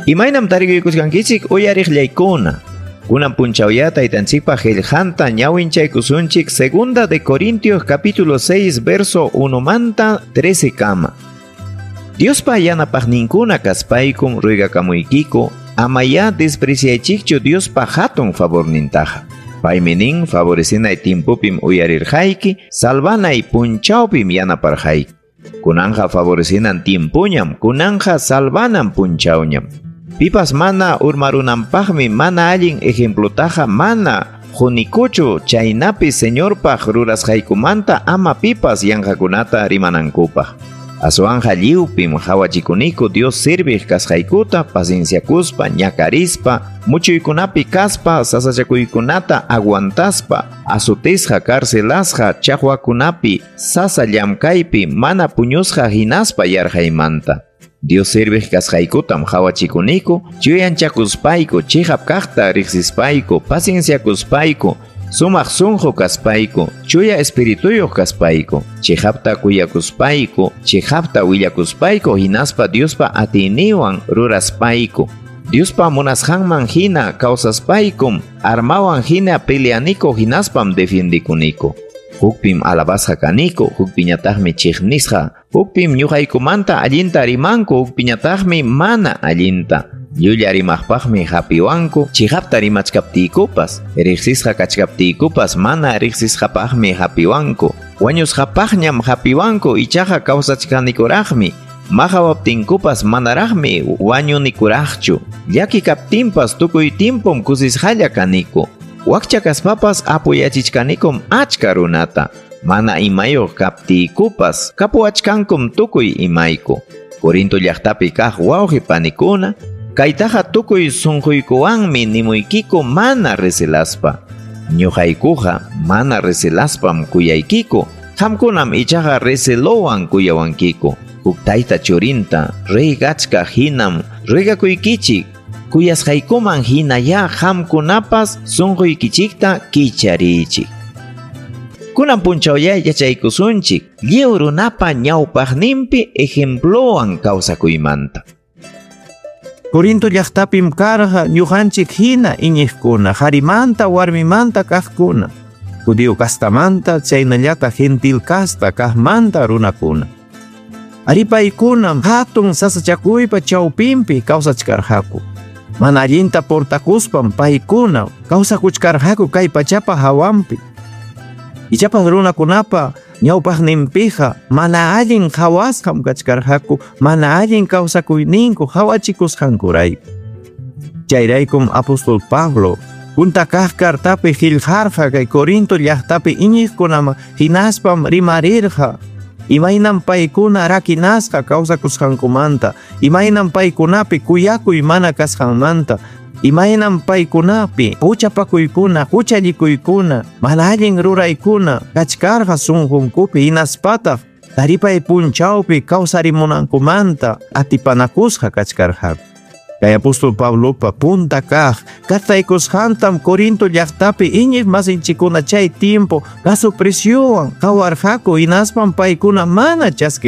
Imaynam tarikuykusqankichik uyariqllaykuna. Kunan punchawya taytanchikpa qillqanta ñawinchaykusunchik Segunda de Corintios capítulo 6 verso 1 manta 13 kama. Diospa yanapaqninkuna kaspaykum ruegakamuykiku amayá despreciaychikchu Diospa hatun favornintaqa. Paymi nin favorecinay tiempopim uyarirqayki, salvanay punchawpim yanaparqayki. Kunanja favorecinan tiempoñam, kunanja salvanan punchawñam. Pipas mana urmarunanpaqmi mana allin ejemplotaqa mana qunikuchu chaynapi Señorpaq rurasqaykumanta ama pipas yanqakunata rimanankupaq. Aswanja lliwpim qhawachikuniku Dios serviq kasqaykuta pacienciakuspa, ñakarispa, muchuykunapi kaspa, sasachakuykunata aguantaspa, azotisqa, carcelasqa, chaqwakunapi, sasa llamkaypi, mana puñusqa hinaspa yarqaymanta. Dios serviq kasqaykutam qhawachikuniku, chuyanchakuspayku, chiqap kaqta riqsispayku, pacienciakuspayku, sumaq sunqu kaspayku, chuya espirituyuq kaspayku, chiqapta kuyakuspayku, chiqapta willakuspayku hinaspa Diospa atiyninwan ruraspayku. Diospa munasqanman hina kawsaspaykum, armawan hina peleaniku hinaspam defiendikuniku. Hukpim alabasqa kaniku, hukpiñataqmi chiqnisqa, hukpim ñuqaykumanta allinta rimanku, hukpiñataqmi mana allinta. Llulla rimaqpaqmi hapiwanku, chiqapta rimachkaptiykupas, riqsisqa kachkaptiykupas mana riqsisqapaqmi hapiwanku. Wañusqapaqñam hapiwanku, ichaqa kawsachkanikuraqmi. Maqawaptinkupas manaraqmi wañunikuraqchu. Llaki kaptinpas tukuy tiempom kusisqalla kaniku. Wakcha kaspapas apoyachichkanikum achka runata. Mana imayuq kaptiykupas kapuwachkankum tukuy imayku. Corinto llaqtapi kaq wawqi panikuna, kaytaqa tukuy sunquykuwanmi nimuykiku mana recelaspa. Ñuqaykuqa mana recelaspam kuyaykiku, qamkunam ichaqa recelowan kuyawankiku. Huk tayta churinta ruegachkaq hinam ruegakuykichik, kuyasqaykuman hinayá qamkunapas sunquykichikta kichariychik. Kunan punchawya yachaykusunchik lliw runapa ñawpaqninpi ejemplowan kawsakuymanta. Corinto llaqtapim karqa ñuqanchik hina iñiqkuna, qarimanta warmimanta kaqkuna, judío kastamanta chaynallataq gentil kasta kaqmanta runakuna. Ari paykunam hatun sasachakuypa chawpinpi kawsachkarqaku. Mana allinta portakuspam paykuna kawsakuchkarqaku kay pachapa hawanpi. Ichapas runakunapa ñawpaqninpiqa mana allin qhawasqam kachkarqaku, mana allin kawsakuyninku qawachikusqankurayku. Chayraykum apóstol Pablo punta kaq cartapi qillqarqa kay Corinto llaqtapi iñiqkunaman hinaspam rimarirqa imaynam paykuna rakinasqa kawsakusqankumanta, imaynam paykunapi kuyakuy mana kasqanmanta, imaynam paykunapi huchapakuykuna, huchallikuykuna, mana allin ruraykuna kachkarqa sunqunkupi hinaspataq taripay punchawpi kawsarimunankumanta atipanakusqa kachkarqaku. Kay apóstol Pablopa punta kaq cartaykusqantam Corinto llaqtapi iñiq masinchikuna chay tiempo gaso preciowan qawarqaku hinaspam paykuna mana chaskirqaku.